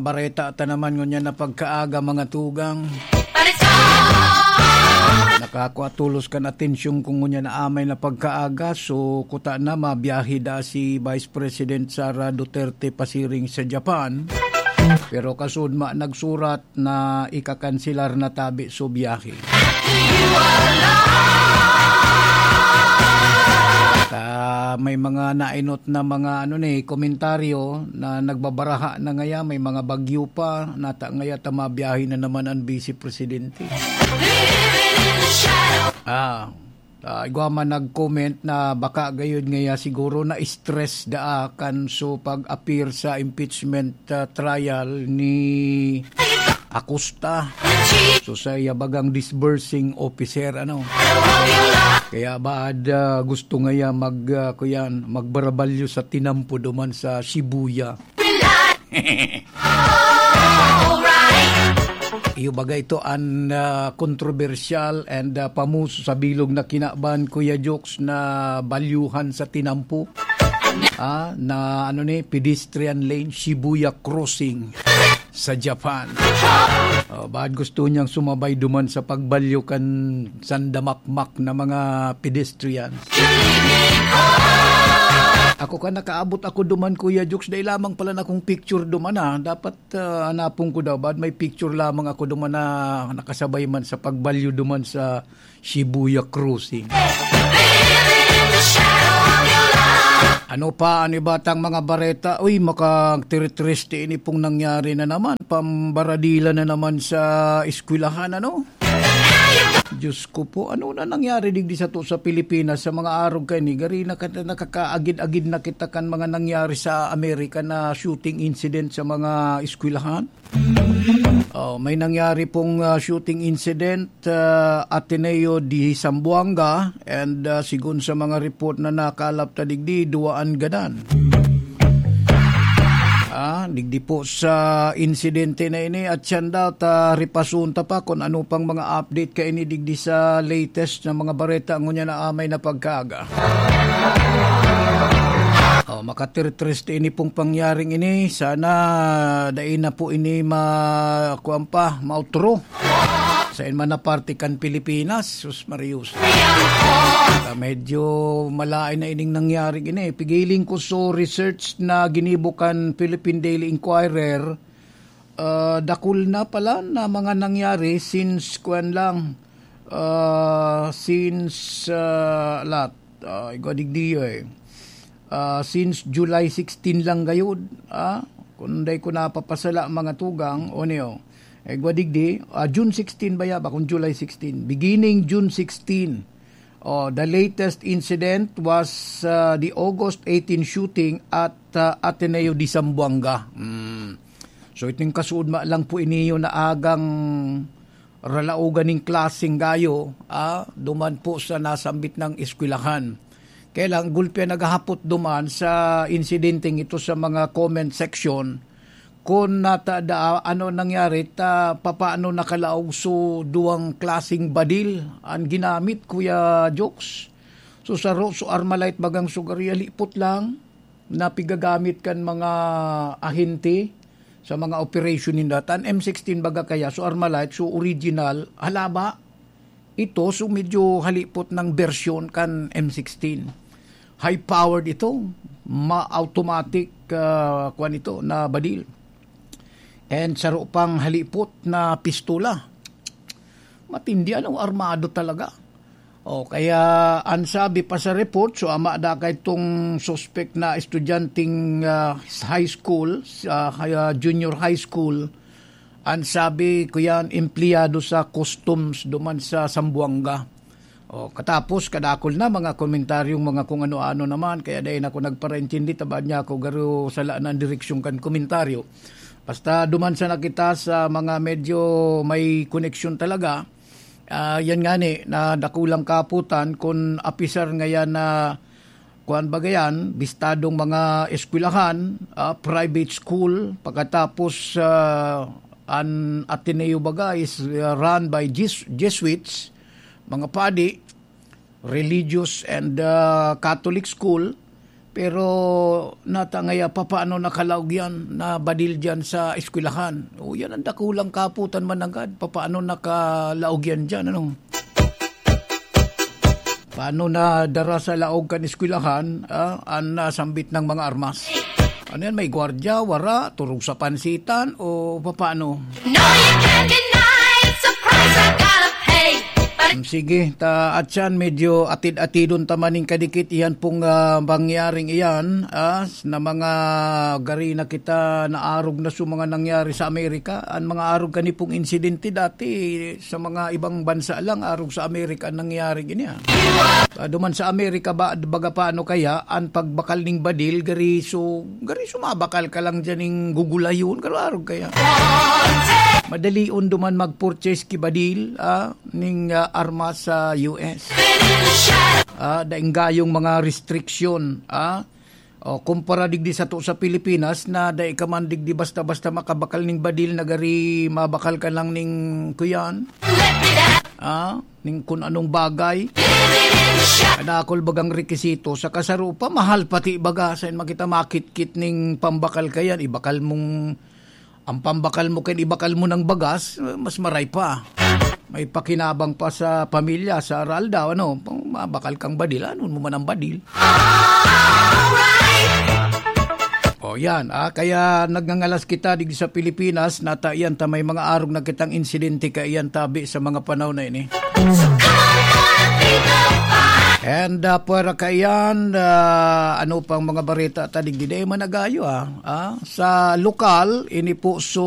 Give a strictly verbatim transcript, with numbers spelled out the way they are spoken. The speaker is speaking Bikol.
Bareta ta naman ngunyan na pagkaaga, mga tugang. Nakakua tolos kan atensyon ko ngunyan na amay na pagkaaga. So, kuta na, mabiyahe da si Vice President Sara Duterte pasiring sa Japan. Pero kasudma nagsurat na ikakanselar na tabi so biyahe. At, ah, may mga nainot na mga, ano ni, komentaryo na nagbabaraha na ngaya, may mga bagyo pa, nata ngaya ta mabiyahe na naman ang Vice Presidente. Ah, ah, igwa man nag-comment na baka gayud ngaya siguro na-stress daa kan so pag-appear sa impeachment, ah, trial ni Acosta. So, sa iya bagang disbursing officer, ano? Kaya baad, ah, gusto ngaya mag, ah, kuyan, magbarabalyo sa tinampo duman sa Shibuya. Iyo baga ito an, ah, kontrobersyal and, ah, pamuso sa bilog na kinaban, Kuya Jokes, na balyuhan sa tinampo. Ah, na ano ni, pedestrian lane, Shibuya Crossing sa Japan. Oh, baad gusto niyang sumabay duman sa pagbalyo kan sandamakmak na mga pedestrians. Ako ka nakaabot ako duman, Kuya Jokes, dai lamang pala na akong picture duman, ah. Dapat, ah, hanapon ko daw, baad may picture lamang ako duman na nakasabay man sa pagbalyo duman sa Shibuya Crossing. Ano pa an iba tang mga bareta? Uy, makatiritriste ini pong nangyari na naman. Pambaradila na naman sa eskwelahan, ano? Diyos ko po, ano na nangyari digdi sato sa Pilipinas sa mga arog kaini? Gari na ka-, nakakaagid-agid na kita kan mga nangyari sa Amerika na shooting incident sa mga eskwelahan. Oh, may nangyari pong, ah, shooting incident, ah, Ateneo de Zamboanga, and, ah, sigon sa mga report na nakalap ta digdi, duwa an gadan. Ah, digdi po sa insidente na ini, at siyan daw ta ripason ta pa kun ano pang mga update kaini digdi sa latest na mga bareta ngunyan na amay na pagkaaga. Oh, makatirtriste ini pong pangyaring ini. Sana dai na po ini ma-, kuwan pa, mautro. Sa man na parte kan Pilipinas, sus Marius. Ah, medyo malain na ining nangyari ini. Pigiling ko so research na ginibo kan Philippine Daily Inquirer. Ah, dakul na pala na mga nangyari since, kuwan lang, ah, since, ah, lat, ah, igwa digdi, eh. Ah, since July sixteen lang gayud, ah, kung dai ko napapasala, mga tugang, o niyo, igwa digdi, ah, June sixteen ba ya ba, kung July sixteen? Beginning June sixteen. Oh, the latest incident was, ah, the August eighteen shooting at, ah, Ateneo de Zamboanga. Mm. So, iting kasuodma lang po iniyo na agang ralaogan ning klaseng gayo, ah, duman po sa nasambit nang eskwelahan. Kaya lang, gulpi an naghahapot duman sa insidenteng ito sa mga comment section, kun nata da, ano nangyari, ta papaano nakalaog so duwang klaseng badil an ginamit, Kuya Jokes? So, saro, so Armalite bagang sugaria, lipot lang, na pigagamit kan mga ahente sa mga operation ninda. Tan M sixteen baga kaya, so Armalite, so original, halaba, ito, so medyo halipot ng bersyon kan M sixteen. High-powered ito, ma-automatic, ah, kwan ito, na badil. And saro pang halipot na pistola. Matindi, ano, armado talaga. O, kaya an sabi pa sa report, so ama da kaitong suspek na estudyanteng, ah, high school, sa, ah, junior high school, an sabi ko yan, empleyado sa customs duman sa Zamboanga. O, katapos, kadakol na mga komentaryong mga kung ano-ano naman, kaya dai na ako nagparaintindi, tabaan niya ako, garo sala na ang direksyon kan komentaryo. Basta duman sana kita sa mga medyo may koneksyon talaga, ah, yan nga ni, na dakulang kaputan kun apisar ngayan na, kuwan baga yan, bistadong mga eskwelahan, ah, private school, pagkatapos, ah, an Ateneo baga is, ah, run by Jes-, Jesuits, mga padi, religious and, ah, Catholic school, Pero natangaya, papaano nakalaog yan na badil dyan sa eskwelahan? O, yan ang dakulang kaputan managad. Papaano nakalaog yan dyan, ano? Paano na dara sa laog kan eskwelahan, ah, ang nasambit ng mga armas? Ano yan? May gwardya, wara, turog sa pansitan, o papaano? No, you can't deny it. Surprise, I gotta pay. But Hmm, sige, ta, atyan, medyo atid-atidon ta maning kadikit iyan pong, ah, pangyaring iyan, ah, na mga gari na kita naarog na sa mga nangyari sa Amerika. Ang mga arog kani pong insidente dati sa mga ibang bansa lang, arog sa Amerika ang nangyari gini, ah. Ah, duman sa Amerika ba, baga paano kaya ang pagbakal ning badil, gari su-, gari sumabakal ka lang dyan ning gugulayon, garo arog kaya. Madalion duman mag-purchase ki badil, ah, ning, ah, armas sa U S. Ah, daing gayong mga restriksyon, ah. O, kumpara digdi sato sa Pilipinas na dai ka man digdi basta-basta makabakal ning badil na gari mabakal ka lang ning kuyan. Ah, ning kun anong bagay. Kadakol bagang rekisito, sa kasaro pa, mahal pati baga. Sain makita makitkit ning pambakal ka yan, ibakal mong, ang pambakal mo kan ibakal mo ng bagas, mas maray pa. May pakinabang pa sa pamilya, sa aral daw, ano, mabakal kang badil, ano mo man ang badil. O yan, ah, kaya nagngangalas kita digdi sa Pilipinas, nata iyan ta may mga arog na kitang insidente kaiyan tabi sa mga panahon na ini. And, ah, pwera kaiyan, ah, ano pang mga bareta ta digdi? Dai man nagayo, ah. Ah, sa lokal, ini po so